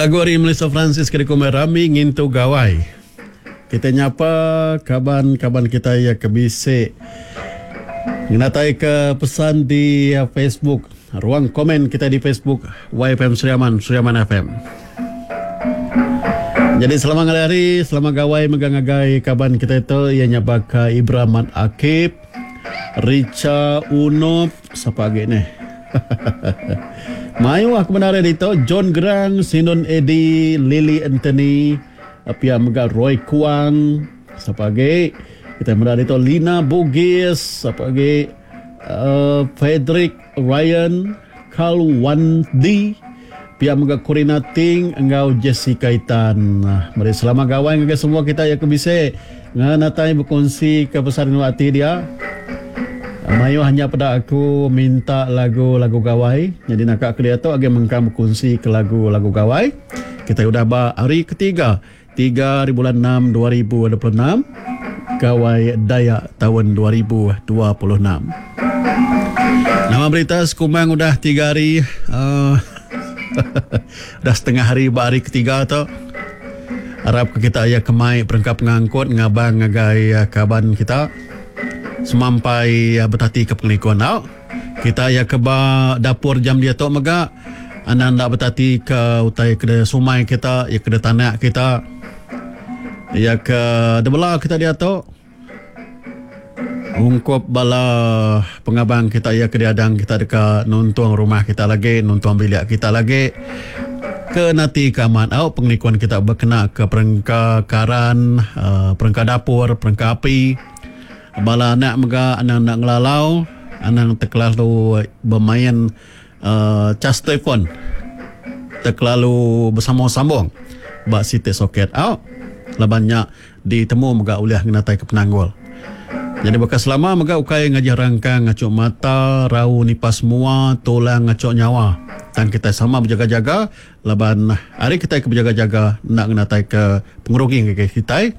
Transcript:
lagu ari Melissa Francis ke dikumbai Rami Ngintu Gawai. Kita nyapa kaban-kaban kita iya ke bisi ngenataika pesan di Facebook, ruang komen kita di Facebook YFM Sri Aman, Sri Aman FM. Jadi selama ngalih hari, selama gawai mega ngagai kaban kita tu iya nya baka Ibramat Akib, Richa Unop, sapa agi neh. Mayuh ke bendar ditu John Gerang, Sinun Edi, Lily Anthony, pia mega Roy Kuang, sapa agi kita meda ditu Lina Bugis, sapa agi uh, Frederick Ryan, Carl Wandi, pia mega Corina Ting enggau Jessica Itan. Meri selamat gawai ngagai semua kita yang ke bisi ngenatai bekunsi ke pesan rindu ati dia. Mayuh nya peda aku minta lagu-lagu gawai. Nyadi naka ke diatu agi mengkang bekunsi ke lagu-lagu gawai. Kita udah ba hari ketiga, 3 hari bulan 6 2026, Gawai Dayak taun 2026. Nama berita sekumbang udah 3 hari uh, udah setengah hari ba hari ketiga tu. Arap ke kita iya kemai perengka pengangkut ngabang ngagai eh, kaban kita semampai eh, betati ke pengelikun tau. Kita iya ke ba dapur jam diatu mega anang enda betati ke utai ke sumai kita, iya ke tanak kita. Iya ke debela kita diatu. Ungkup bala pengabang kita iya ke diadang kita deka nuntung rumah kita lagi, nuntung bilik kita lagi. Ke nati ke amat au pengelikun kita bekena ke perengka karan, uh, perengka dapur, perengka api. Bala anak mega anang enda ngelalau, anang terkelalu bermain uh, cas telefon. Terkelalu bersambung-sambung ba siti soket au. Laban nya Ditemu mega ulih ngenataika penanggul. Nyadi baka selama mega ukai ngajih rangkang ngachuk mata, rau nipas mua, tulang ngachuk nyawa. Tang kitai sama bejaga-jaga laban ari kitai ke bejaga-jaga enda ngenataika pengerugi ngagai kitai.